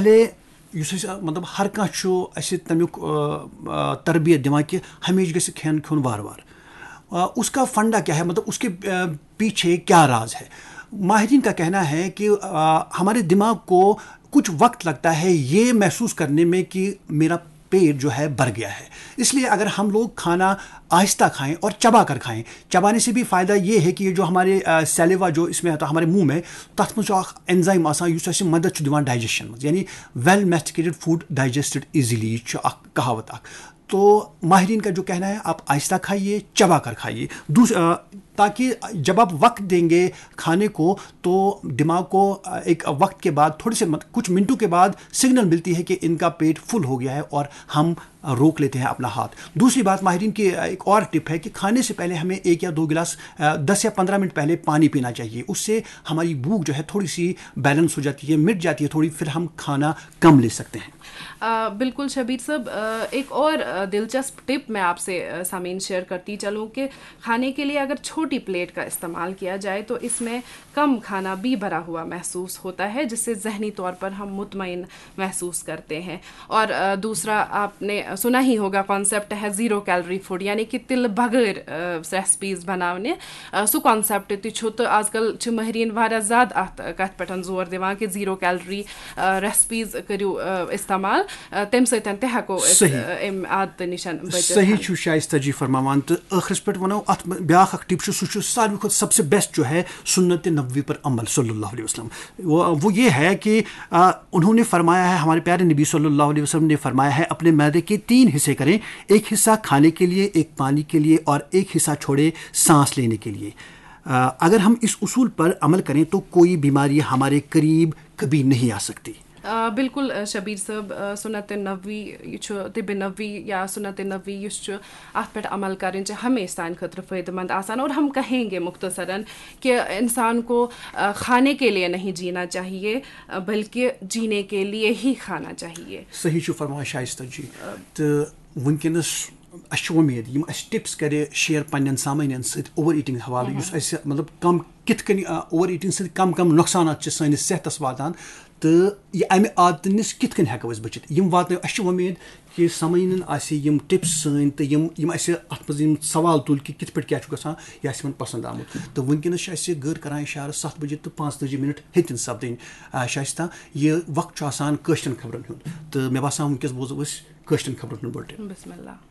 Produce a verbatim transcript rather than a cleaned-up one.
پہلے یُس أسۍ، مطلب، ہر کانٛہہ چھُ اَسہِ تَمیُک، آ، آ، تربیت دِوان کہِ ہمیشہِ گژھِ کھٮ۪ن کھیوٚن وارٕ وارٕ۔ آ، اس کا فنڈا کیا ہے؟ مطلب، اس کے، آ، پیچھے کیا راز ہے؟ ماہرین کا کہنا ہے کہ، آ، ہمارے دماغ کو کچھ وقت لگتا ہے یہ محسوس کرنے میں کہ میرا پیٹ جو ہے بھر گیا ہے۔ اس لیے اگر ہم لوگ کھانا آہستہ کھائیں اور چبا کر کھائیں، چبانے سے بھی فائدہ یہ ہے کہ یہ جو ہمارے، آ، سیلیوا جو اس میں آتا ہے ہمارے منہ میں، تَتھ منٛز چھُ اکھ اینزائم آسان یُس اَسہِ مدد چھُ دِوان ڈائجیشن منٛز، یعنی well masticated food digested easily، یہِ چھُ اکھ کہاوت اکھ۔ تو ماہرین کا جو کہنا ہے، آپ آہستہ کھائیے، چبا کر کھائیے۔ دوس-، آ، تاکہ جب آپ وقت دیں گے کھانے کو، تو دماغ کو، آ، ایک وقت کے بعد، تھوڑے سے مت-، کچھ منٹوں کے بعد سگنل ملتی ہے کہ ان کا پیٹ فل ہو گیا ہے اور ہم روک لیتے ہیں اپنا ہاتھ۔ دوسری بات، ماہرین کی ایک اور ٹپ ہے کہ کھانے سے پہلے ہمیں ایک یا دو گلاس، آ، دس یا پندرہ منٹ پہلے پانی پینا چاہیے۔ اس سے ہماری بھوک جو ہے تھوڑی سی بیلنس ہو جاتی ہے، مٹ جاتی ہے تھوڑی، پھر ہم کھانا کم لے سکتے ہیں۔ آ، بالکل شبیر صاحب، آ، ایک اور، آ، دلچسپ ٹپ میں آپ سے، آ، سامعین شیئر کرتی چلوں کہ کھانے کے لیے اگر چھوٹی پلیٹ کا استعمال کیا جائے تو اس میں کم کھانا بھی بھرا ہوا محسوس ہوتا ہے، جس سے ذہنی طور پر ہم مطمئن محسوس کرتے ہیں۔ اور، آ، دوسرا، آپ نے سنا ہی ہوگا، کانسیپٹ ہے زیرو کیلری فوڈ، یعنی کہ تِلہٕ بغٲر، آ، ریسپیز بناونہِ۔ آ، سُہ کانسیپٹ تہِ چھُ، تہٕ آز کل چھِ ماہرین واریاہ زیادٕ اتھ کتھ پٮ۪ٹھ زور دِوان کہ زیرو کیلری، آ، ریسپیز کٔرِو، آ، استعمال، آ، تمہِ سۭتۍ تہِ ہٮ۪کو أسۍ، صحیح۔ آ، امہِ عادتہٕ نِش بٔچِتھ۔ صحیح چھُ شائستہ جی فرماوان۔ تہٕ ٲخرس پٮ۪ٹھ ونو اتھ منٛز بیاکھ اکھ ٹپ چھُ، سُہ چھُ ساروی کھۄتہٕ سب سے بیسٹ جو ہے سنت نبوی پر عمل صلی اللہ علیہ وسلم۔ وہ، وہ یہ ہے کہ، آ، انہوں نے فرمایا ہے، ہمارے پیارے نبی صلی اللہ علیہ وسلم نے فرمایا ہے، اپنے معدے کے تین حصے کریں، ایک حصہ کھانے کے لیے، ایک پانی کے لیے اور ایک حصہ چھوڑے سانس لینے کے لیے۔ آ، اگر ہم اس اصول پر عمل کریں تو کوئی بیماری ہمارے قریب کبھی نہیں آ سکتی۔ آ، بالکل، آ، شبیر صٲب، آ، سنت نبوی، یہِ چھُ طب نبوی یا سنت نبوی یُس چھُ، اتھ پٮ۪ٹھ عمل کرٕنۍ چھِ ہمیشہِ سانہِ خٲطرٕ فٲیدٕ مند آسان۔ اور ہم کہیں گے مختصراً کہ انسان کو، آ، کھانے کے لیے نہیں جینا چاہیے، آ، بلکہ جینے کے لیے ہی کھانا چاہیے۔ صحیح چھُ فرماوان شائستہ جی۔ تہٕ وٕنکیٚنَس اَسہِ چھِ وۄمید یِم اَسہِ ٹِپٕس کَرِ شِیَر پنٛنٮ۪ن سامعیٖنَن سۭتۍ اوٚوَر ایٖٹِنٛگ حوالہٕ، یُس اَسہِ مطلب کَم کِتھ کٔنۍ، آ، اوٚوَر ایٖٹِنٛگ سۭتۍ کَم کَم نۄقصانات چھِ سٲنِس صحتَس واتان، تہٕ یہِ اَمہِ عادتہٕ نِش کِتھ کٔنۍ ہٮ۪کو أسۍ بٔچِتھ۔ یِم واتنٲو، اَسہِ چھِ وۄمید کہِ سامعیٖنَن آسہِ یِم ٹِپٕس سٲنۍ تہٕ یِم، یِم اَسہِ اَتھ منٛز یِم سوال تُلۍ کہِ کِتھ پٲٹھۍ کیٛاہ چھُ گژھان، یہِ آسہِ یِمَن پَسنٛد آمُت۔ تہٕ وٕنکیٚنَس چھِ اَسہِ گٔر کَران اِشارٕ سَتھ بَجے تہٕ پانٛژتٲجی مِنَٹ ہیٚتِن سَپدٕنۍ، آ، شایستہ۔ یہِ وقت چھُ آسان کٲشرٮ۪ن خبرَن ہُنٛد، تہٕ مےٚ باسان وٕنکیٚس بوزو أسۍ کٲشرٮ۪ن خبرَن ہُنٛد بُلٹِن۔ بسم اللہ۔